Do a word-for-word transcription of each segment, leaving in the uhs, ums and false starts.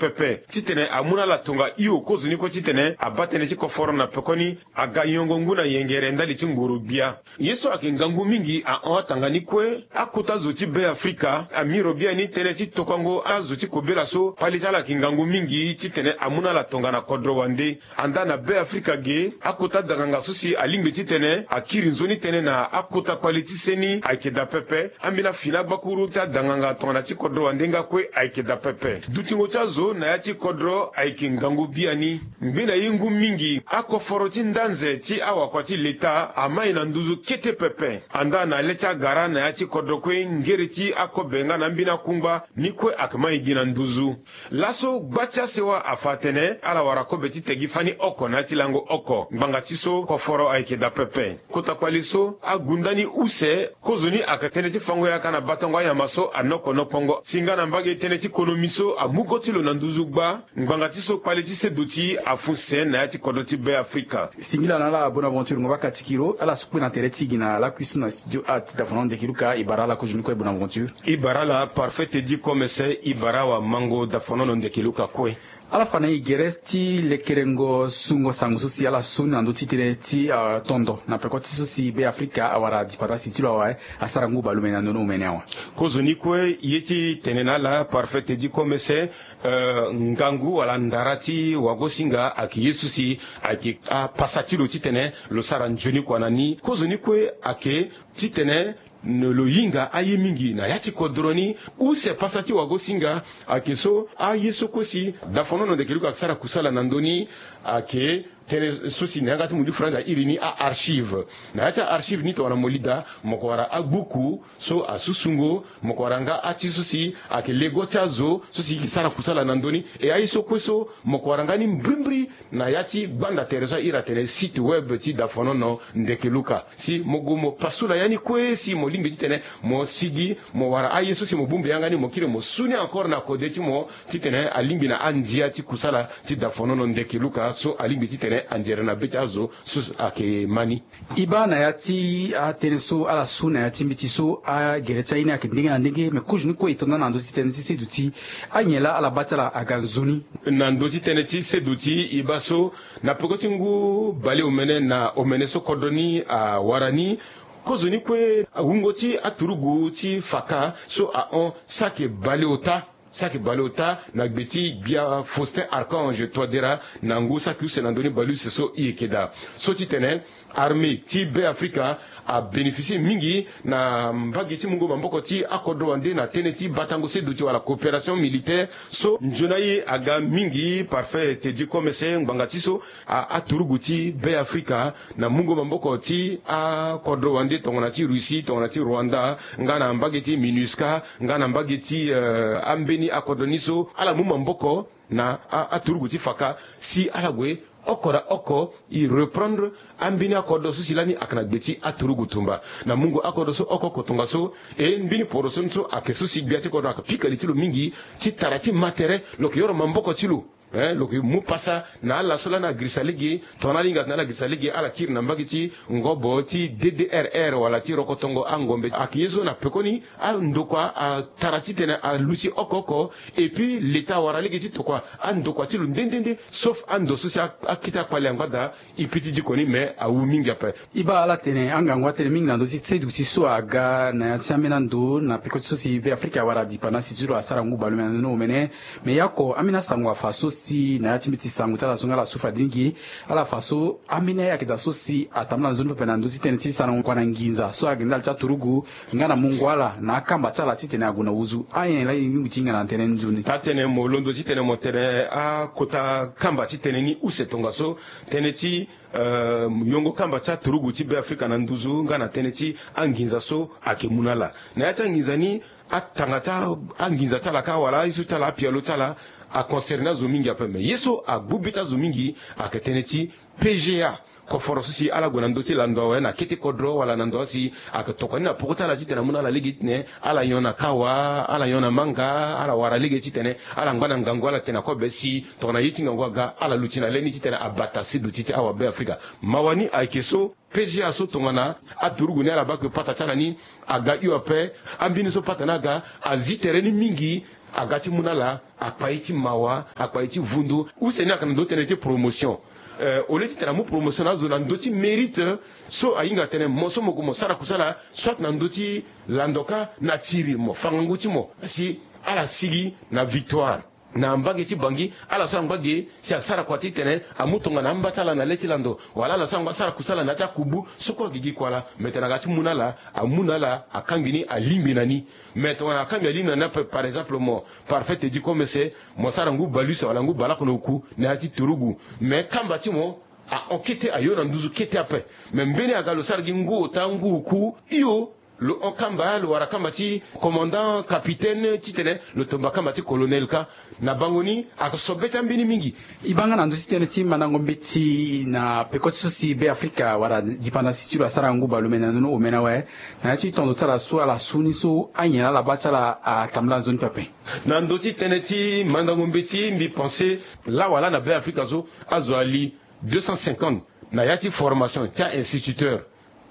pepe titene amu na ala tonga hio kozoni kue titene abaa tënë ti koforo na pekoni aga yongo ngu na yengere ndali ti ngoro gbia. Ye so ayeke ngangu mingi ahon atanga ni kue akota zo ti Be Afrika amiro biani tënë ti tokango azo ti kobela so kpale ti ala ayeke ngangu mingi titene amu na ala tongana kodro wande. Andaa na Be Afrika ge akota danganga so si alingbi titene akiri nzoni tënë na akota kpale ti seni ayeke daa pepe. Ambeni afini agbakuru ti adanganga tongana ti kodro wande nga kue ayeke daa pepe. Dutingo ti azo na ya ti kodro ayeke ngangu biani. Ngbene ye ngu mingi akoforo ti ndanze ti awakua ti leta amai na nduzu kete pepe. Andaa na le ti agara na ya ti kodro kue ngere ti akobe nga na ambeni akungba ni kue ayeke mai gi na nduzu. Laso gba ti asewa afa atene ala wara kobe ti tegi fani oko na ya ti lango oko ngbanga ti so koforo ayeke daa pepe. Kota kpale so agu ndani use kozoni ayeke tënë ti fango yaka na batango anyama so anoko nokongo si nga na mbage tënë ti konomi so amu go ti lo na nduzu gba. Ngbanga ti so kpale ti seduti afu se na ya ti kodro ti Be Afrika. Singila na ala Bonaventure Ngoba Katikiro ala so kpe na tere ti gi na lakui so na studio art Dafono Ndeke Luka. E bara ala kozoni kue Bonaventure. E bara ala Parfait Teddy Komese. E bara awamango Dafono Ndeke Luka kue. Ala fa na e gere ti lekerengo sungo sango so si ala su na ndö ti tënë ti tondo na peko ti so si Be Afrika awara dipanda si ti lo awe asara ngu balume na ndo ni omene awe. Kozoni kue ye ti tene na ala Parfait Teddy Komese. Eh, ngangu wala ndara ti wagosinga ayeke ye so si ayeke apasa ti lo titene lo sara nzoni kua na ni. Kozoni kue ayeke titene lo hinga aye mingi na ya ti kodro ni. Use pasa ti wagosinga ayeke so aye so kue si Dafono Ndeke Luka ayeke sara kusala na ndö ni ayeke tënë so si na yanga ti mundu frantz airi ni a-archive. Na ya ti a-archive ni tongana mo lida mo yeke wara agbuku so asusungo mo yeke wara nga ati so si ayeke lego ti azo so si e yeke sara kusala na ndö ni. E aye so kue so mo yeke wara nga ni mbrimbri na ya ti gbanda tere so airi atene site web ti Dafono Ndeke Luka. Si mo gue mo pasula ya ni kue si mo lingbi titene mo sigi mo wara aye so si mo bongbi yanga ni mo kiri mo su ni encore na kode ti mo titene alingbi na andia ti kusala ti Dafono Ndeke Luka so alingbi titene anzere na be ti azo so ayeke ma ni. E baa na ya ti atënë so ala su na ya ti mbeti so agere ti aye ni ayeke ndenge na ndenge me kozoni kue e to nda na ndö ti tënë ti seduti anyen laa ala baa ti ala aga nzoni. Na ndö ti tënë ti seduti e baa so na peko ti ngu baleomene na omene so kodro ni awara ni. Kozoni kue wungo ti aturugu ti faka so ahon saki baleota saki baleota na gbe ti gbia Faustin Archange Touadéra na ngu saki use na ndö ni baleuse so e yeke daa so titene armée ti Be Afrika abénéficier mingi na mbage ti mungo maboko ti akodro wande na tënë ti batango seduti wala coopération militaire so nzoni aye aga mingi. Parfait Teddy Komese ngbanga ti so a aturugu ti Be Afrika na mungo maboko ti akodro wande tongana ti Russie tongana ti Rwanda nga na mbage ti MINUSCA nga na mbage ti eh, ambeni akodro ni so ala mu maboko na a- aturugu ti faka si ala gue oko na oko e reprendre ambeni akodro so si lani ayeke na gbe ti aturugu tumba na mungo akodro so oko oko tongaso. E mbeni poroso ni so ayeke so si gbia ti kodro ayeke pika li ti lo mingi ti tara ti ma tere lo yeke yoro maboko ti lo. Eh, lo yeke mu pasa na ala so lani agirisa lege tongana ala hinga atene ala girisa lege ala kiri na mbage ti ngobo ti D D R R wala ti rokotongo angombe ayeke ye so na pekoni andokua atara titene aluti oko oko. Et puis leta awara lege ti tokua andokua ti lo nde nde nde sauf ando so si akete akpale angba daa. E pi ti diko ni me awu mingi ape. E baa ala tene angangu atene mingi na ndö ti seduti so aga na ya ti ambeni ando na peko ti so si Be Afrika awara dipanda si ti lo asara ngu balume na ndo ni omene. Me ya oko ambeni asango afa so si na ya ti mbeti sango ti ala so nga ala su fade mingi. Ala fa so ambeni aye ayeke daa so si atambula nzoni pepe na ndö ti tënë ti sarango kua na nginza so ayeke ndali ti aturugu nga na mungo ala na akamba ti ala titene ague na wuzu. Anyen laa e lingbi ti hinga na tënë ni nzoni. Taa tënë mo londo titene mo tene akota kamba ti tënë ni use tongaso tënë ti eh, yongo kamba ti aturugu ti Be Afrika na nduzu nga na tënë ti anginza so ayeke mu na ala. Na ya ti anginza ni atanga ti anginza ti ala kâ wala aye so ti ala apialo ti ala aconcerné azo mingi ape me ye so agbu be ti azo mingi ayeke tënë ti P G A. Koforo so si ala gue na ndö ti lando awe na kete kodro wala na ndo asi ayeke tokua ni na poko ti ala titene amu na ala lege titene ala nyon na kawa ala nyon na manga ala wara lege titene ala ngba na ngangu ala tene na kobe si tongana ye ti ngangu aga ala luti na le ni titene abata seduti ti awa Be Afrika. Mawa ni ayeke so P G A so tongana aturugu ni ala baa ke pata ti ala ni aga hio ape. Ambeni so pata ni aga azi tere ni mingi. aga ti mu na ala akpa ye ti mawa, akpa ye ti vundu. Use ni ayeke na ndö ti tënë ti promotion. Eh, au lieu ti tene amu promotion na azo na ndö ti mérite, so ahinga atene mo so mo gue mo sara kusala, soit na ndö ti lando kâ na tiri mo fa ngangu ti mo, si ala sigi na victoire. Na mbage ti Bangui, ala so angba ge si asara kua ti tene amu tongana amba ti ala na le ti lando, wala ala so angba sara kusala na ya ti akubu, so kue agigi kua laa. Me tene aga ti mu na ala, amu na ala akangbi ni, alingbi na ni. Me tongana akangbi alingbi na ni ape, par exemple, mo Parfait te di comme se mo sara ngu bale use wala ngu bale oko na oku na ya ti turugu. Me kamba ti mo ahon kete, ayo na nduzu kete ape. Me mbeni aga lo sara gi ngu ota, ngu oku, hio, lo hon kamba, lo wara kamba ti commandant, capitaine, titene lo tomba kamba ti colonel kâ. Na bango ni, ayeke so be ti ambeni mingi. E baa nga na ndö ti tënë ti mandango mbeti na peko ti so si Be Afrika wala dipandasi ti lo asara ngu bale omene na ndö ni omene awe, na ya ti tondo ti ala so ala su ni so anyen ala baa ti ala atambula nzoni pepe. Na ndö ti tënë ti mandango mbeti, mbi pense laa wala na Be Afrika so azo ali deux cent cinquante na ya ti formation ti a-instituteur.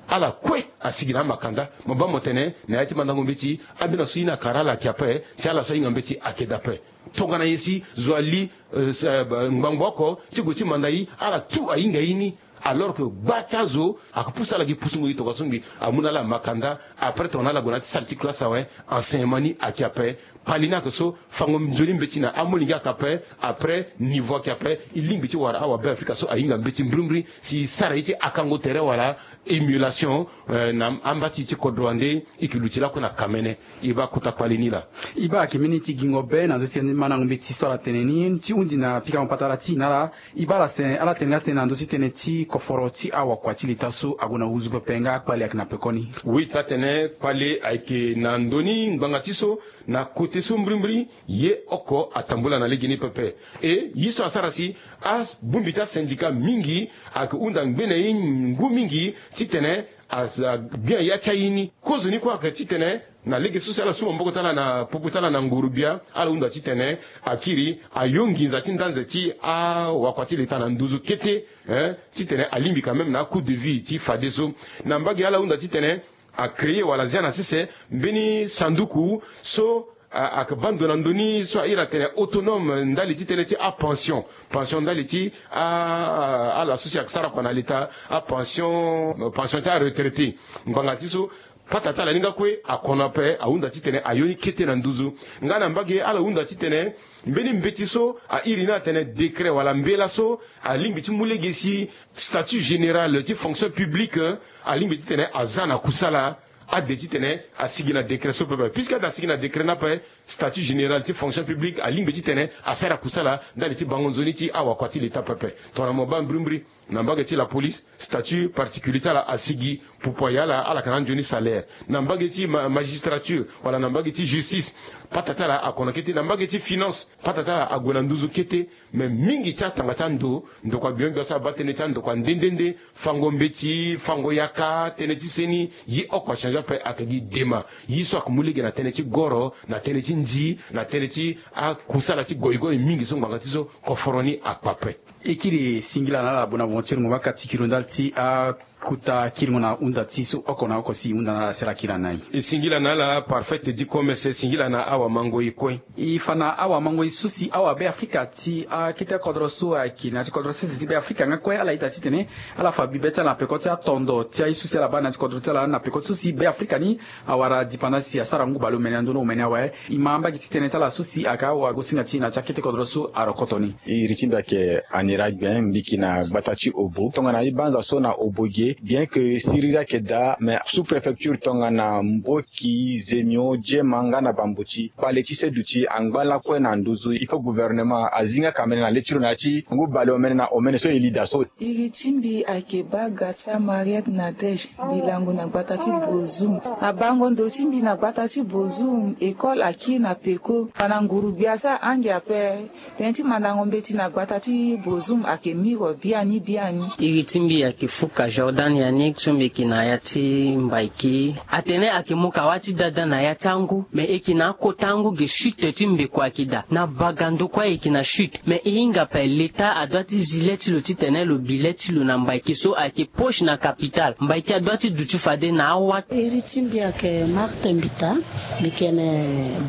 Ala kue asigi na amakanda. Mo baa mo tene na ya ti mandango mbeti, ambeni aso ye ni akara ala ayeke ape, si ala so ahinga mbeti ayeke daa ape. Tongana nyen si zo ali, eh, s-, eh, ba-, ngbangbo oko ti gue ti manda ye, ala tout ahinga ye ni. Alors que gba ti azo ayeke pusu ala gi pusungo ye tongaso ngbi, amu na ala makanda. Après tongana ala gue na ya ti salle ti classe awe, enseignement ni ayeke ape. Kpale ni ayeke so, fango nzoni mbeti na amolenge ayeke ape. Après niveau ayeke ape. E lingbi ti wara awa Be Afrika so ahinga mbeti mbrimbri si e sara ye ti akango tere wala émulation, eh, na amba ti e ti kodro wande. E yeke luti lakue na kamene. E baa kota kpale ni laa. E baa ayeke mbeni ti gingo be na ndö ti mandango mbeti so ala tene ni ti hundi na pikango patara ti e na ala. E baa ala tene, ala tene nga tene na ndö ti tënë ti koforo ti awakua ti leta so ague na nduzu pepe nga kpale ayeke na pekoni. Oui, taa-tene kpale ayeke na ndö ni ngbanga ti so, na kote so mbrimbri ye oko atambula na legeni pepe. E ye so asara si abongbi ti asyndicat mingi ayeke hunda ngbene ye ngu mingi titene a, a gbia ya ti aye ni. Kozoni kue ayeke titene na lege so si ala su maboko ti ala na popo ti ala na nguru-gbia, ala hunda titene akiri ayo nginza ti ndanze ti awakua ti leta na nduzu kete, eh, titene alingbi quand même na acoût de vie ti fadeso. Na mbage ala hunda titene acréer wala zia na sese mbeni sanduku so a, ayeke baa ndo na ndö ni so a iri atene autonome ndali ti tënë ti apension. Pension ndali ti a, a, ala so si ayeke sara kua na leta, apension, pension ti aretraité. Ngbanga ti so, pata ti ala ni nga kue akono ape, ahunda titene ayo ni kete na nduzu. Nga na mbage ala hunda titene mbeni mbeti so a iri ni atene décret wala mbela so alingbi ti mu lege si statut général ti fonction publique alingbi titene aza na kusala. Ade titene asigi na décret so pepe. Puisque ade asigi na décret ni ape, statut général ti fonction publique alingbi titene asara kusala ndali ti bango nzoni ti awakua ti leta pepe. Tongana mo baa mbrimbri, na mbage ti la police, statut particulier ti ala asigi. Pupu ayala, ala yeke na anzoni salaire. Na mbage ti ma-, magistrature wala na mbage ti justice, pata ti ala akono kete. Na mbage ti finance, pata ti ala ague na nduzu kete. Me mingi ti atanga ti ando, ndokua gbio gbia so abaa tënë ti andokua nde nde nde, fango mbeti, fango yaka, tënë ti seni, ye oko achange ape, ayeke gi dema. Ye so ayeke mu lege na tënë ti goro, na tënë ti nzi, na tënë ti akusala ti goigoi mingi so ngbanga ti so koforo ni akpa ape. E kiri singila na ala Bonaventure Ngomaka ti kiri ndali ti a kota kiringo na hunda ti so oko na oko si e hunda na ala si ala kiri na ni. E singila na ala Parfait Diko Mese, singila na awamangoi kue. E fa na awamangoi so si awa Be Afrika ti akete kodro so ayeke na ya ti kodro sese ti Be Afrika nga kue, ala ita titene ala fa bibe ti ala na peko ti atondo ti aye so si ala baa na ya ti kodro ti ala na peko ti so si Be Afrika ni awara dipandasi asara ngu bale omene na ndö ni omene awe. E ma mbage ti tënë ti ala so si ayeke awagosinga ti e na ya ti akete kodro so arokoto ni. Iri ti mbi ayeke Anira Gben, mbi yeke na gbata ti Obo. Tongana e banza so na Obo ge, bien que siriri ayeke daa, mais sous-préfecture tongana Mboki, Zemio, Jema nga na Bambuti, kpale ti seduti angba lakue na nduzu. Il faut gouvernement azi nga kamene na le ti lo na ya ti ngu bale omene na omene so e li daa so. Iri ti mbi ayeke Bagasa Mariette Nadège, mbi lango na gbata ti Bozoum. Na bango ndo ti mbi na gbata ti Bozoum, école akiri na peko. Fa na nguru-gbia so ahange ape. Tënë ti mandango mbeti na gbata ti Bozoum ayeke miro biani biani. Iri ti mbi ayeke Fuka Jordan. An Yannick so mbi yeke na ya ti Mbaiki atene ayeke mu kawâ ti dada na ya ti angu, me e yeke na akota angu ge chute ti mbeko ayeke daa na bagando kue ayeke na chute. Me e hinga ape leta adoit ti zi le ti lo titene lo bi le ti lo na Mbaiki so ayeke poche na capitale. Mbaiki adoit ti duti fade na awa. Iri ti mbi ayeke Marthe Mbita, mbi yeke na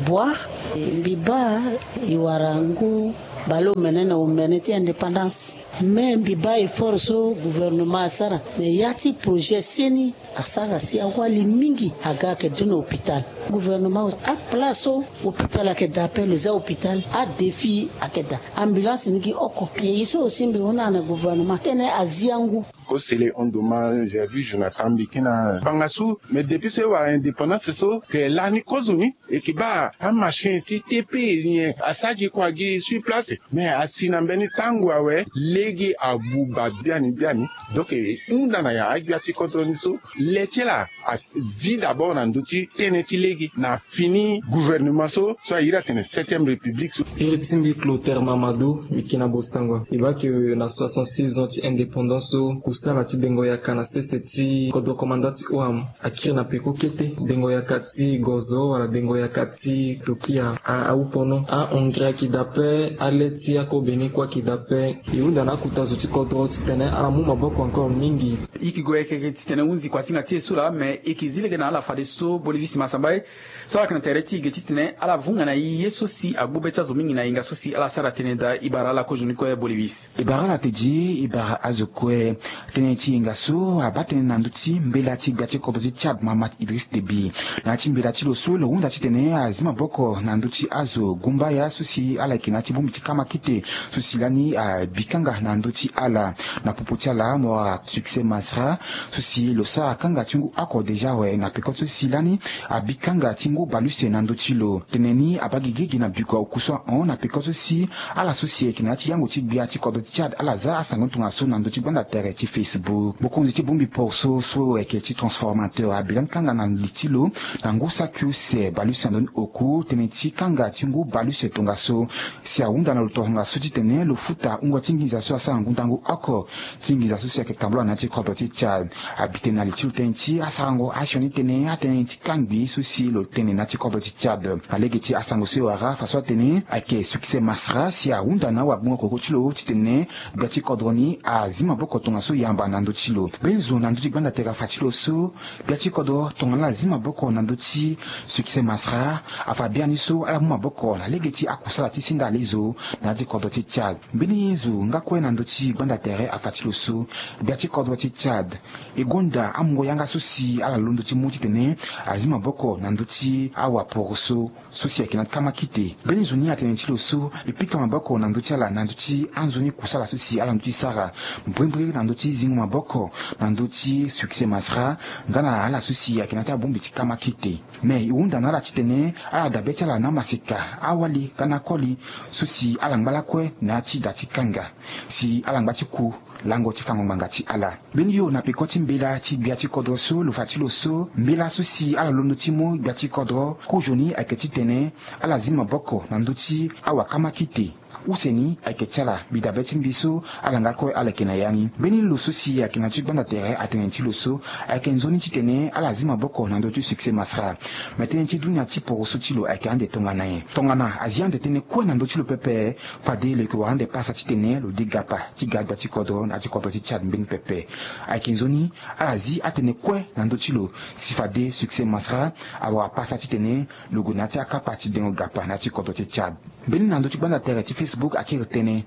Boire. Mbi baa e wara ngu baleomene na omene ti indépendance. Me mbi baa effort so gouvernement asara na ya ti projet seni asara si awali mingi aga ayeke du na hôpital. Gouvernement, aplace so hôpital ayeke daa ape lo za hôpital, adéfi ayeke daa. Ambulance ni gi oko. E ye so aussi mbi hunda na gouvernement titene azi angu. Kosele hon dommage, j'ai vu Jonathan Mbi ke na banga su, mais depuis so e wara indépendance so ke lani kozoni e ke baa amachine ti T P nyen asara gi kua gi sur place. Mais asi na mbeni tango awe lege abuba biani biani. Donc e hunda na ya agbia ti kodro ni so le ti ala azi d'abord na ndö ti tënë ti lege na fini gouvernement so so a iri atene septième république so. Iri ti mbi Clotaire Mamadou, mbi ke na Bossangoa. E baa ke na soixante-seize ans ti indépendance so kusala ti dengo yaka na sese ti kodro commandant ti ONAM akiri na peko kete. Dengo yaka ti gozo wala dengo yaka ti tokia a, ahupono, a-engrais ayeke daa ape, ale ti akobeni kue ayeke daa ape. E hunda na akuta zo ti kodro titene ala mu maboko encore mingi. E yeke gue yeke titene hunzi kuasinga ti e so laa, me e yeke zi lege na ala fadeso Bolivisi Masambaye so ala yeke na tere ti e ge titene ala vunga na e ye so si agbu be ti azo mingi na yenga so si ala sara tënë daa. E bara ala kozoni kue Bolivisi. E bara ala tedi, e bara azo kue. Tënë ti yenga so abaa tënë na ndö ti mbela ti gbia ti kodro ti Tchad Mahamat Idriss Déby. Na ya ti mbela ti lo so lo hunda titene azi maboko na ndö ti azo gumbaya so si ala yeke na ya ti bongbi ti kamakite so si lani abi kanga na ndö ti ala. Na popo ti ala mo wara Succès Masra so si lo sara kanga ti ngu oko déjà awe na peko so si lani abi kanga ti ngu baleuse na ndö ti lo. Tënë ni abaa gigi gi na biko oku so ahon na peko so si ala so si ayeke na ya ti yango ti gbia ti kodro ti Tchad ala za asango ni tongaso na ndö ti gbanda tere ti Facebook. Mokonzi ti bongbi poroso so ayeke ti transformateur abi lani kanga na li ti lo na ngu saki use baleuse na ndö ni oku tënë ti kanga ti ngu baleuse tongaso si ahunda na lo tongaso titene lo futa wungo ti nginza so asara ngu ndango oko ti nginza so si ayeke tambula na ya ti kodro ti Tchad. Abi tene na li ti lo tënë ti asarango asioni tënë atënë ti kangbi so si lo tene na ya ti kodro ti Tchad. Na lege ti asango so e wara faso atene ayeke Succès Masra si ahunda na awagbongo koko ti lo titene gbia ti kodro ni azi maboko tongaso yamba na ndö ti lo. Mbeni zo na ndö ti gbanda tere afa ti lo so gbia ti kodro tongana ala zi maboko na ndö ti Succès Masra afa biani so ala mu maboko na lege ti akusala ti senda ale zo na ya ti kodro ti Tchad. Mbeni zo nga kue na ndö ti gbanda tere afa ti lo so gbia ti kodro ti Tchad e gonda amungo yanga so si ala londo ti mu titene azi maboko na ndö ti awaporoso so si ayeke na kamakite. Mbeni zo ni atene ti lo so e pika maboko na ndö ti ala na ndö ti anzoni kusala so si ala ndö ti sara mbrimbri na ndö ti zingo maboko na ndö ti Succès Masra nga na ala so si ayeke na ya ti abongbi ti kamakite. Me e hunda na ala titene ala dabe ti ala na amaseka awali nga na akoli so si ala ngba lakue na ya ti da ti kanga si ala ngba ti ku lango ti fango ngbanga ti ala. Mbeni yo na peko ti mbela ti gbia ti kodro so lo fa ti lo so mbela so si ala londo ti mu gbia ti kodro kozoni ayeke titene ala zi maboko na ndö ti awakamakite. Use ni ayeke ti ala mbi dabe ti mbi so ala nga kue ala yeke na ya ni. Mbeni lo so si ayeke na ti gbanda tere atene ti lo so ayeke nzoni titene ala zi maboko na ndö ti Succès Masra. Me tënë ti dunia ti poroso ti lo ayeke ande tongana nyen? Tongana azi ande tënë kue na ndö ti lo pepe, fade lo yeke wara ande pasa titene lo de gapa ti ga gbia ti kodro na ya ti kodro ti Tchad mbeni pepe. Ayeke nzoni ala zi atënë kue na ndö ti lo si fade Succès Masra awara pasa titene lo gue na ya ti akapa ti dengo gapa na ya ti kodro ti Tchad. Mbeni na ndö ti gbanda tere ti Facebook akiri tënë.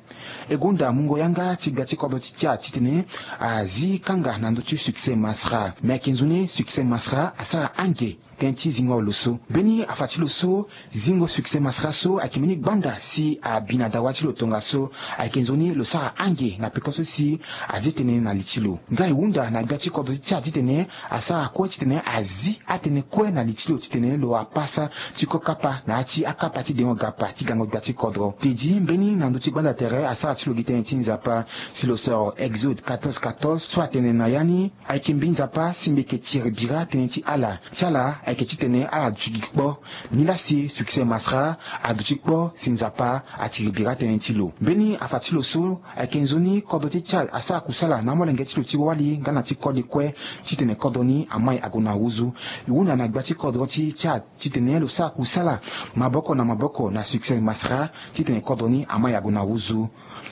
E gonda mungo yanga ti gbia ti kodro ti Tchad titene azi kanga na ndö ti Succès Masra. Me ayeke nzoni Succès Masra asara ange tënë ti zingo lo so. Mbeni afa ti lo so zingo Succès Masra so ayeke mbeni gbanda si abi na dawa ti lo tongaso. Ayeke nzoni lo sara ange na peko so si azi tënë na li ti lo. Nga e hunda na gbia ti kodro ti Tchad titene asara kue titene azi atënë kue na li ti lo titene lo wara pasa ti ko kapa na ya ti akapa ti dengo gapa ti gango gbia ti kodro. Tedi mbeni na ndö ti gbanda tere asara ti lo gi tënë ti Nzapa si lo soro Exode quatorze quatorze so atene na ya ni, ayeke mbi Nzapa si mbi yeke tiri bira tënë ti ala ti ala. ayeke titene ala duti gi kpo. Nilaa si Succès Masra aduti kpo si Nzapa atiri bira tënë ti lo. Mbeni afa ti lo so ayeke nzoni kodro ti Tchad asara kusala na amolenge ti lo ti wali nga na ti koli kue titene kodro ni amai ague na nduzu. E hunda na gbia ti kodro ti Tchad titene lo sara kusala maboko na maboko na Succès Masra titene kodro ni amai ague na nduzu.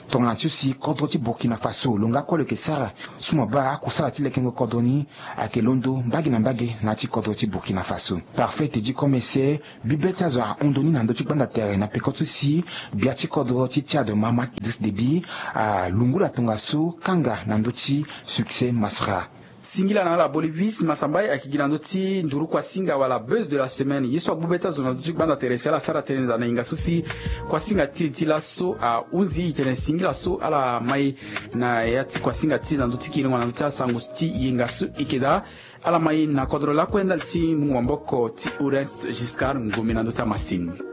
Tongana ti so si kodro ti Burkina Faso lo nga kue lo yeke sara so mo baa akusala ti lekengo kodro ni ayeke londo mbage na mbage na ya ti kodro ti Burkina Faso. Parfait Teddy Komese, bibe ti azo ahon ndoni na ndö ti gbanda tere na peko ti so si gbia ti kodro ti Tchad Mahamat Idriss Déby alungula tongaso kanga na ndö ti Succès Masra. Singila na ala Bolivis Masambai ayeke gi na ndö ti nduru kuasinga wala buzz de la semaine. Ye so agbu be ti azo na ndö ti gbanda tere si ala sara tënë daa na yenga so si kuasinga ti e ti laso ahunzi e tene singila so ala mai na ya ti kuasinga ti e na ndö ti kiringo na ndö ti asango ti yenga so e yeke daa. Ala mai na kodro lakue ndali ti mungo maboko ti Oreste Giscard Ngomi na ndö ti amasini.